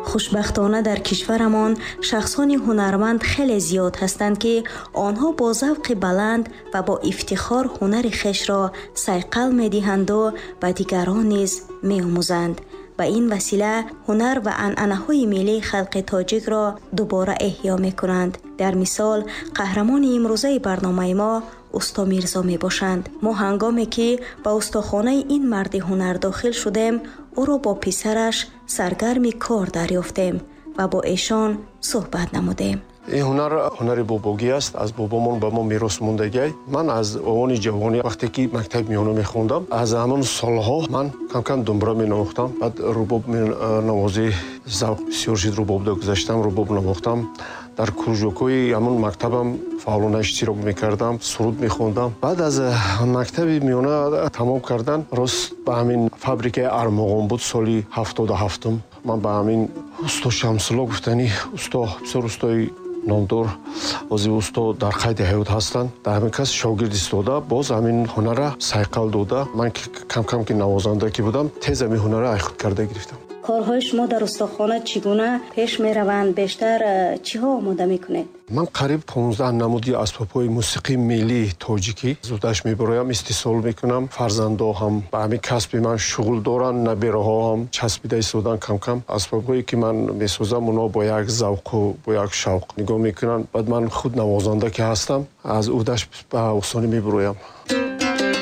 Хушбахтона, дар кишварамон шахсони ҳунарманд хеле зиёд ҳастанд, ки онҳо бо завқи баланд ва бо ифтихор ҳунари хешро сайқал медиҳанду ба дигарон низ меомӯзанд. Ба ин васила ҳунар ва анъанаҳои миллии халқи тоҷикро дубора эҳё мекунанд. Дар мисол, қаҳрамони имрӯзаи барномаи мо усто Мирзо мебошанд. Мо ҳангоме ки ба устохонаи ин марди ҳунар дохил шудем, ӯро бо писараш саргарми кор дарёфтем ва бо эшон суҳбат намудем. Ин ҳунар ҳунари бобогӣ аст, аз бобомон ба мо мерос мондагиай. Ман аз овони ҷавонӣ, вақте ки мактаби миёна мехондам, аз ҳамон солҳо ман кам-кам думбура менавохтам, баъд рубоб менавозӣ, завқ бисёр шуд, рубобда гузаштам, рубоб навохтам. Дар кружокҳои ҳамон мактабам фаъолона иштирок мекардам, суруд мехондам. Баъд аз мактаби миёна тамом кардан, рост ба ҳамин фабрикаи «Армуғон» буд, соли 77-ум, ман ба ҳамин усто Шамсулло гуфтани усто, бисёр устои номдор, ҳозир усто дар қайди ҳаёт ҳастанд, дар ҳамин кас шогирд истода, боз ҳамин ҳунара сайқал дода, ман кам-кам ки навозанда ки будам, тез ҳамин ҳунара ай худ карда гирифтам. Корҳои шумо дар устохона чӣ гуна пеш мераванд? Бештар чиҳо омода мекунед? Ман қариб 15 намуди асбобҳои мусиқии миллии тоҷикӣ зудаш мебароям, истеҳсол мекунам. Фарзандо ҳам ба ҳамин касби ман шуғл доранд, набераҳо ҳам часпида истодан. Кам-кам асбобҳое ки ман месозам, онҳо бо як завқу бо як шавқ нигоҳ мекунанд. Баъд ман худ навозанда ки ҳастам, аз уҳдаш ба осонӣ мебароям.